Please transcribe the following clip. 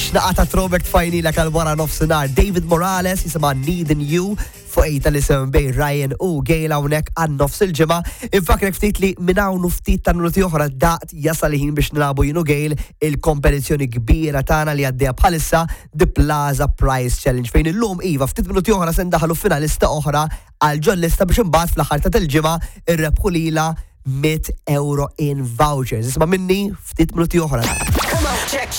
Xnaqa ta' throwback tfajnilek għal wara nofsinhar. David Morales jisimha Needin You fuq ejta li sem bej Ryan u Gail hawnhekk għan nofs il-ġimgħa. Infakrek ftit li minn hawn u ftit ta' minuti oħra daqt jasal ħin biex nilagħbu jien u Gail il-kompetizzjoni kbira tagħna li għaddejja bħalissa The Plaza Prize Challenge fejn illum iva ftit minuti oħra se ndaħlu finalista oħra għal ġol-lista biex imbagħad fl-aħħar ta' il-ġimgħa irrebħu lilha 100 euro in vouchers. Isma' minni ftit minuti oħra.